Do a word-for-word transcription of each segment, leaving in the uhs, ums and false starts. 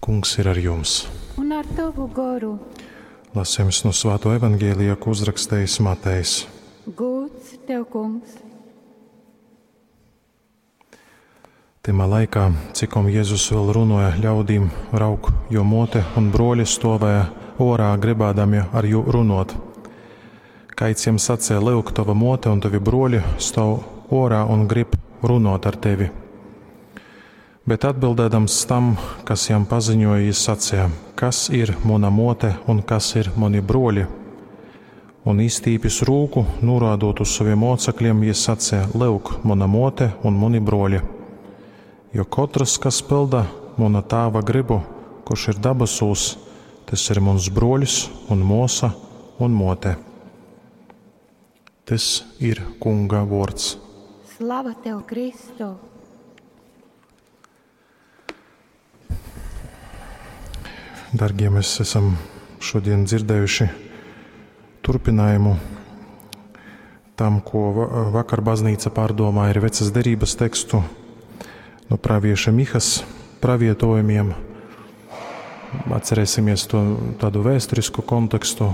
Kungs ir ar jums. Un ar tavu goru. Lasījums no Svāto evaņģēlija, ko uzrakstījis Matejs. Gūts tev, kungs. Tymā laikā, cikom Jēzus vēl runoja ļaudīm, raug, jo mote un broļi stovēja orā, gribādami ar jū runot. Kaids jiem sacīja, lyuk, tava mote un tavi broļi stāv orā un grib runot ar tevi. Bet atbildēdams tam, kas jam paziņoja, jis sacīja, kas ir mana mote un kas ir mani broļi? Un izstīpis rūku, norādot uz saviem mocekļiem, jis sacīja, lyuk, mana mote un mani broļi. Jo katrs, kas pilda mana tāva gribu, kurš ir dabasūs, tas ir mans broļs un mosa un mote. Tas ir Kunga vārds. Slava tev, Kristu! Dargie, mēs esam šodien dzirdējuši turpinājumu tam, ko vakar baznīca pārdomāja ar vecas derības tekstu no pravieša Mihas pravietojumiem. Atcerēsimies to tādu vēsturisku kontekstu,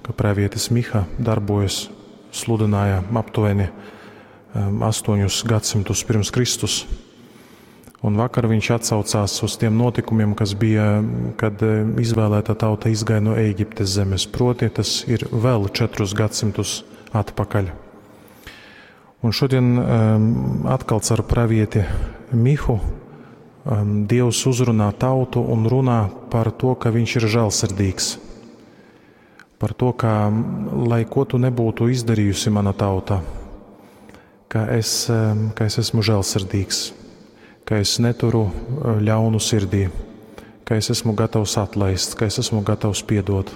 ka pravietis Miha darbojas, sludināja aptuveni um, astoņus gadsimtus pirms Kristus. Un vakar viņš atsaucās uz tiem notikumiem, kas bija, kad eh, izvēlētā tauta izgāja no Ēģiptes zemes. Proti, tas ir vēl četrus gadsimtus atpakaļ. Un šodien um, atkal caur pravieti Mihu um, Dievs uzrunā tautu un runā par to, ka viņš ir žēlsirdīgs. Par to, ka, lai ko tu nebūtu izdarījusi mana tauta, ka es, um, ka es esmu žēlsirdīgs, ka es neturu eh, ļaunu sirdī, ka es esmu gatavs atlaist, ka es esmu gatavs piedot.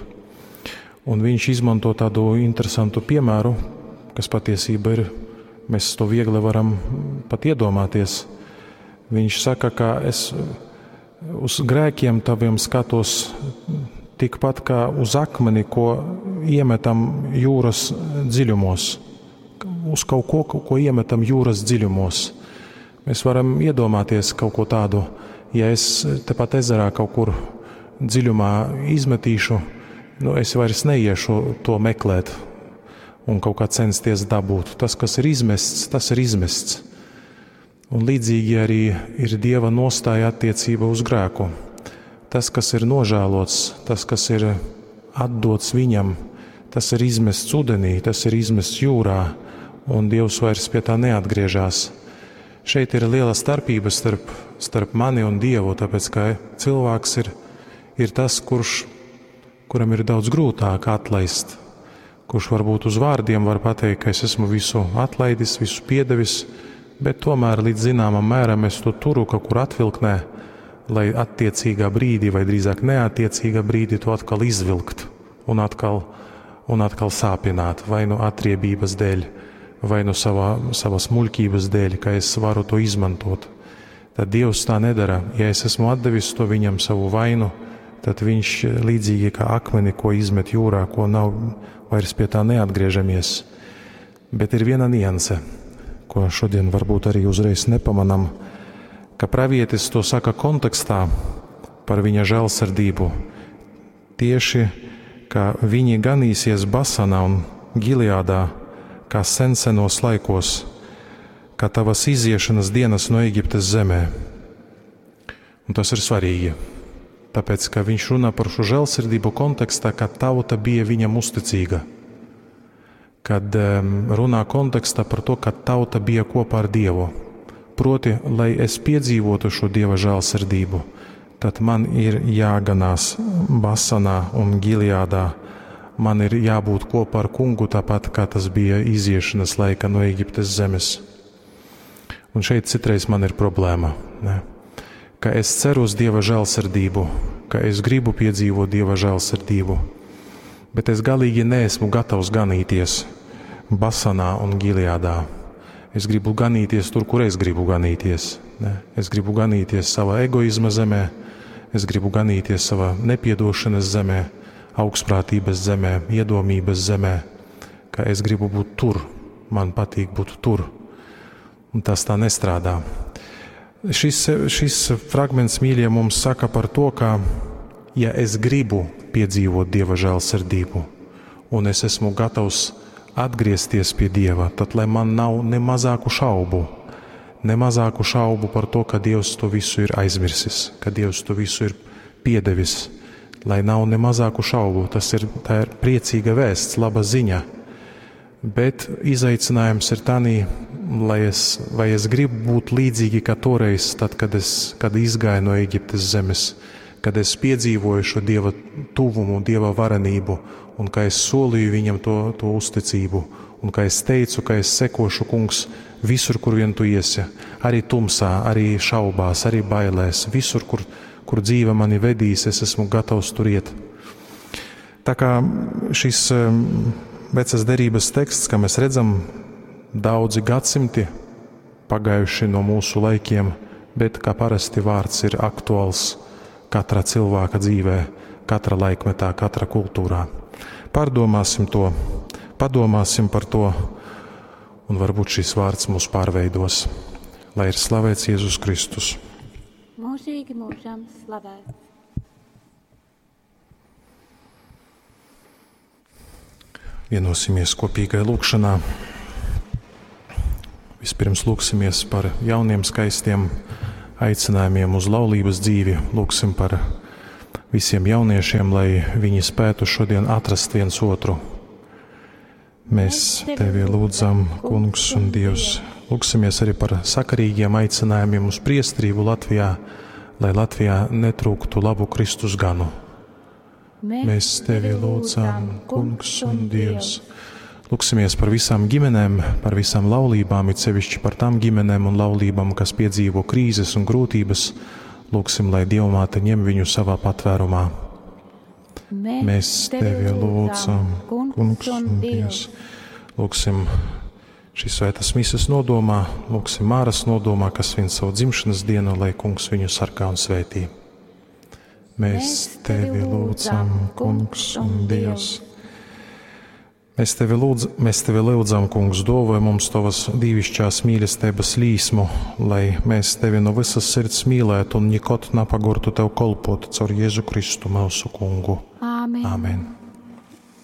Un viņš izmanto tādu interesantu piemēru, kas patiesība ir, mēs to viegli varam pat iedomāties. Viņš saka, ka es uz grēkiem taviem skatos tikpat kā uz akmeni, ko iemetam jūras dziļumos. Uz kaut ko, ko iemetam jūras dziļumos. Mēs varam iedomāties kaut ko tādu, ja es tepat ezerā kaut kur dziļumā izmetīšu, nu, es vairs neiešu to meklēt un kaut kā censties dabūt. Tas, kas ir izmests, tas ir izmests. Un līdzīgi arī ir Dieva nostāja attiecība uz grēku. Tas, kas ir nožēlots, tas, kas ir atdots viņam, tas ir izmests ūdenī, tas ir izmests jūrā, un Dievs vairs pie tā neatgriežas. Šeit ir liela starpība starp, starp mani un Dievu, tāpēc ka cilvēks ir, ir tas, kurš, kuram ir daudz grūtāk atlaist, kurš varbūt uz vārdiem var pateikt, ka es esmu visu atlaidis, visu piedevis, bet tomēr līdz zināmam mēram es to turu kaut kur atvilknē, lai attiecīgā brīdī, vai drīzāk neattiecīgā brīdī to atkal izvilkt un atkal, un atkal sāpināt, vai nu atriebības dēļ, vai nu savā, savas muļķības dēļ, ka es varu to izmantot. Tad Dievs tā nedara. Ja es esmu atdevis to viņam savu vainu, tad viņš līdzīgi kā akmeni, ko izmet jūrā, ko nav vairs pie tā neatgriežamies. Bet ir viena nianse, ko šodien varbūt arī uzreiz nepamanam, ka pravietis to saka kontekstā par viņa žēlsirdību. Tieši, ka viņi ganīsies Basanā un Gileadā, kā sensenos laikos, kā tavas iziešanas dienas no Eģiptes zemē. Un tas ir svarīgi, tāpēc, ka viņš runā par šo žēlsirdību kontekstā, kad tauta bija viņam uzticīga. Kad um, runā kontekstā par to, ka tauta bija kopā ar Dievu. Proti, lai es piedzīvotu šo Dieva žēlsirdību, tad man ir jāganās Basanā un Gileadā. Man ir jābūt kopā ar kungu, tāpat kā tas bija iziešanas laika no Eģiptes zemes. Un šeit citreiz man ir problēma, ne? Ka es ceru uz Dieva žēlsirdību, ka es gribu piedzīvot Dieva žēlsirdību, bet es galīgi neesmu gatavs ganīties Basanā un Gileadā. Es gribu ganīties tur, kur es gribu ganīties. Ne? Es gribu ganīties savā egoizma zemē, es gribu ganīties savā nepiedošanas zemē, augstprātības zemē, iedomības zemē, ka es gribu būt tur, man patīk būt tur. Un tas tā nestrādā. Šis, šis fragments, mīļie, mums saka par to, ka, ja es gribu piedzīvot Dieva žēlsirdību, un es esmu gatavs atgriezties pie Dieva, tad lai man nav ne mazāku šaubu, ne mazāku šaubu par to, ka Dievs to visu ir aizmirsis, ka Dievs to visu ir piedevis, lai nav ne mazāku šaubu. Tas ir, tā ir priecīga vēsts, laba ziņa. Bet izaicinājums ir tanī, lai es, vai es gribu būt līdzīgi kā toreiz, tad, kad es kad izgāju no Eģiptes zemes, kad es piedzīvoju šo Dieva tuvumu, Dieva varenību, un ka es solīju viņam to, to uzticību, un ka es teicu, ka es sekošu, kungs, visur, kur vien tu iesi, arī tumsā, arī šaubās, arī bailēs, visur, kur, kur dzīve mani vedīs, es esmu gatavs tur iet. Tā kā šis vecas derības teksts, kā mēs redzam, daudzi gadsimti pagājuši no mūsu laikiem, bet kā parasti vārds ir aktuāls katra cilvēka dzīvē, katra laikmetā, katra kultūrā. Pārdomāsim to, padomāsim par to, un varbūt šis vārds mūs pārveidos. Lai ir slavēts Jēzus Kristus. Mūžīgi mūžam slavēts. Vienosimies kopīgai lūgšanā. Vispirms lūgsimies par jauniem skaistiem aicinājumiem uz laulības dzīvi. Lūgsim par visiem jauniešiem, lai viņi spētu šodien atrast viens otru. Mēs tevi lūdzam, Kungs un Dievs. Lūgsimies arī par sakarīgiem aicinājumiem uz priesterību Latvijā, lai Latvijā netrūktu labu Kristus ganu. Mēs tevi lūdzam, Kungs un Dievs. Lūgsimies par visām ģimenēm, par visām laulībām, it sevišķi par tām ģimenēm un laulībām, kas piedzīvo krīzes un grūtības. Lūgsim, lai Dievmāte ņem viņu savā patvērumā. Mēs tevi lūdzam, Kungs un Dievs. Lūgsim šīs svētas mises nodomā, lūgsim Māras nodomā, kas svin savu dzimšanas dienu, lai Kungs viņu sargā un svētī. Mēs tevi lūdzam, Kungs un Dievs. Mēs tevi, lūdz, mēs tevi lūdzam, Kungs, dāvāj mums tavas dīvišķās mīlestības līsmu, lai mēs tevi no visas sirds mīlētu un nekad napagurtu tev kolpot caur Jēzu Kristu mūsu Kungu. Āmen. Āmen.